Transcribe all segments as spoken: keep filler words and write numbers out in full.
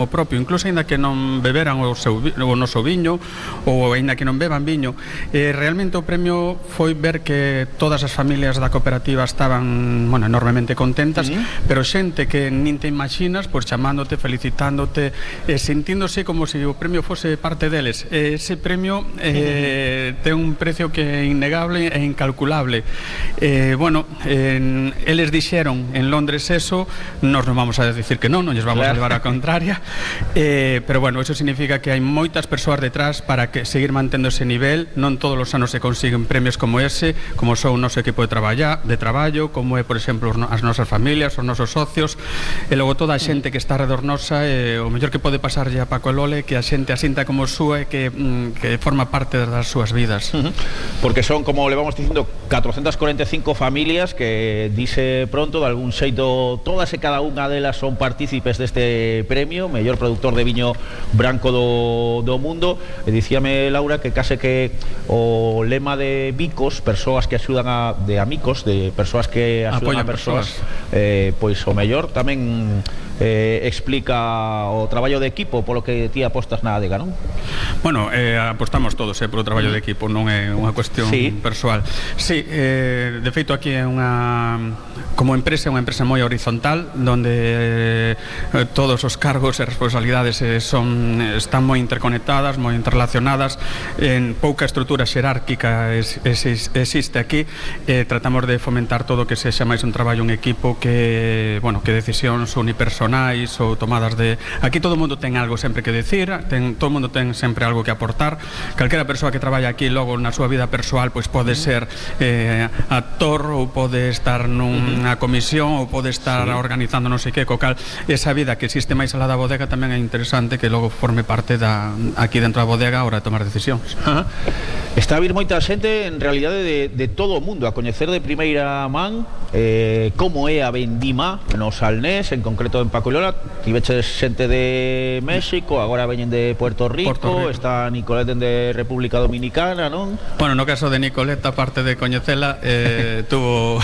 o propio, incluso aínda que non beberan o, seu, o noso viño ou aínda que non beban viño, eh, realmente o premio foi ver que todas as familias da cooperativa estaban, bueno, enormemente contentas, uh-huh. pero xente que nin te imaginas, pois chamándote, felicitándote, eh, sentíndose como se o premio fose parte deles. Eh, ese premio eh, uh-huh. ten un precio que é innegable e incalculable. Eh, bueno, eh, eles dixeron en Londres eso, nos non vamos a decir que non, non lles vamos claro. a levar a contraria. Eh, pero bueno, eso significa que hai moitas persoas detrás para que seguir mantendo ese nivel. Non todos os anos se consiguen premios como ese, como son o noso equipo de traballo, de traballo, como é, por exemplo, as nosas familias, os nosos socios, e logo toda a xente que está alrededor nosa. eh, o mellor que pode pasarlle a Paco e Lole que a xente asinta como súa e que, mm, que forma parte das súas vidas. Uh-huh. Porque son, como le vamos dicindo, catrocentas cuarenta e cinco familias que, dice pronto, de algún xeito, todas e cada unha delas son partícipes deste premio mellor productor de viño branco do, do mundo. E dicíame Laura que case que o lema de Bicos, persoas que axudan a, de amigos, de persoas que axudan a persoas, eh, pois o mellor tamén eh, explica o traballo de equipo polo que ti apostas na adega, non? Bueno, eh, apostamos todos eh, polo traballo de equipo, non é unha cuestión sí. persoal. Sí, eh, de feito aquí é unha, como empresa, é unha empresa moi horizontal, donde eh, todos os cargos e responsabilidades eh, son, están moi interconectadas, moi interrelacionadas, en pouca estrutura xerárquica es, es, existe aquí. Eh, tratamos de fomentar todo o que sexa máis un traballo en equipo que, bueno, que decisións unipersonais ou tomadas de... Aquí todo o mundo ten algo sempre que decir, ten, todo o mundo ten sempre algo que aportar. Calquera persoa que traballa aquí logo na súa vida persoal pois pode ser eh, actor ou pode estar nunha comisión ou pode estar sí. organizando non sei que, co cal esa vida que existe máis alá da bodega tamén é interesante que logo forme parte da, aquí dentro da bodega a hora de tomar decisións. Ajá. Está a vir moita xente en realidade de, de todo o mundo a coñecer de primeira man eh, como é a vendima no Salnés, en concreto en Paco e Lola. Tiveches xente de México, agora veñen de Puerto Rico, Puerto Rico. Está Nicolet de República Dominicana, non? Bueno, no caso de Nicolet, aparte de coñecela, eh, tuvo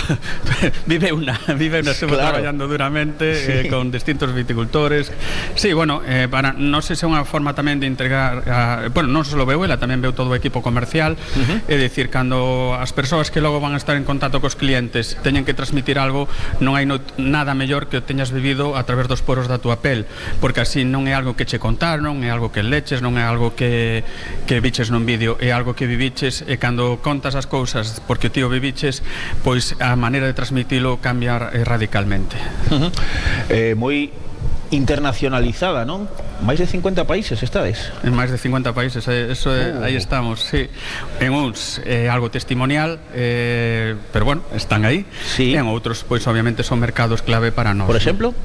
vive unha vive unha estuvo claro. traballando duramente sí. eh, con distintos viticultores. Sí, bueno, eh, para non sei se é unha forma tamén de integrar a, bueno, non só veu ela, tamén veu todo o equipo comercial. Uh-huh. É dicir, cando as persoas que logo van a estar en contacto cos clientes teñen que transmitir algo, non hai no, nada mellor que o teñas vivido a través dos poros da túa pel, porque así non é algo que che contaron, non é algo que leches, non é algo que, que viches nun vídeo, é algo que viviches, e cando contas as cousas porque ti o viviches, pois a maneira de transmitilo cambia eh, radicalmente. Uh-huh. eh, moi internacionalizada, non? Máis de cincuenta países estades? En máis de cincuenta países, eso é, uh. aí estamos, sí. En uns é eh, algo testimonial, eh, pero bueno, están aí. Sí. E en outros, pois obviamente son mercados clave para nós. Por exemplo?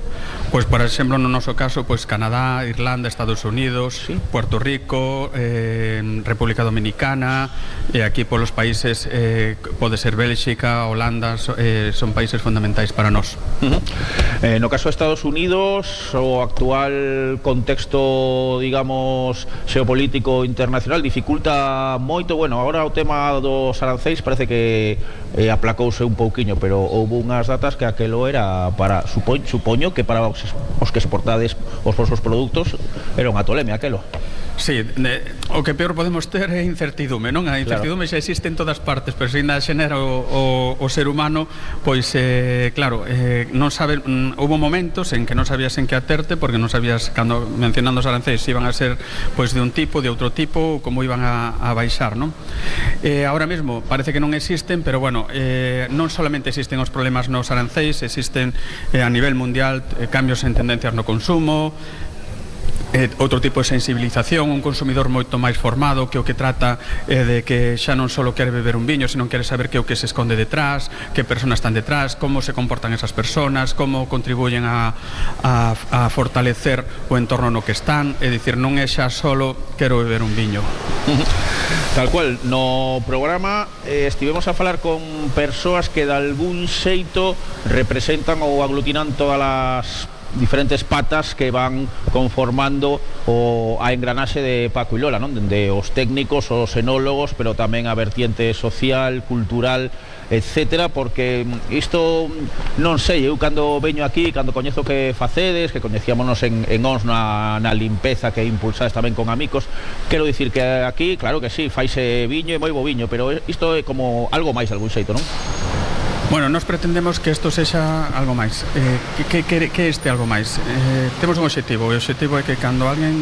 Pois, por exemplo, no noso caso, pois Canadá, Irlanda, Estados Unidos, sí. Puerto Rico, eh, República Dominicana, e aquí polos países eh, pode ser Bélxica, Holanda, so, eh, son países fundamentais para nós. Uh-huh. eh, no caso de Estados Unidos, o actual contexto, digamos, xeopolítico internacional dificulta moito. Bueno, agora o tema dos arancéis parece que eh, aplacouse un pouquiño, pero houve unhas datas que aquelo era para, supo, supoño que para os, os que exportades os vosos produtos era unha tolemia aquelo. Sí, de, o que peor podemos ter é incertidume, non? A incertidume claro. xa existe en todas partes, pero se ainda xenera o, o, o ser humano, pois, eh, claro, eh, non sabe, mm, houve momentos en que non sabías en que aterte, porque non sabías, cando mencionando os arancéis, iban a ser pois de un tipo, de outro tipo, como iban a, a baixar, non? Eh, ahora mesmo parece que non existen, pero bueno, eh, non solamente existen os problemas nos arancéis, existen eh, a nivel mundial eh, cambios en tendencias no consumo, Eh, outro tipo de sensibilización, un consumidor moito máis formado que o que trata eh, de que xa non só quere beber un viño, sino quere saber que o que se esconde detrás, que persoas están detrás, como se comportan esas persoas, como contribuyen a, a, a fortalecer o entorno no que están. É dicir, non é xa solo quero beber un viño. Tal cual, no programa eh, estivemos a falar con persoas que de algún xeito representan ou aglutinan todas as diferentes patas que van conformando o a engranaxe de Paco e Lola, non? Dende os técnicos, os enólogos, pero tamén a vertiente social, cultural etcétera, porque isto non sei, eu cando veño aquí, cando coñezo que facedes, que coñecíamonos en, en Ons na, na limpeza que impulsades tamén con amigos, quero dicir que aquí, claro que sí, faise viño e moi bo viño, pero isto é como algo máis de algún xeito, non? Bueno, nos pretendemos que isto sexa algo máis. Eh, que, que, que este algo máis? Eh, temos un obxectivo, e o obxectivo é que cando alguén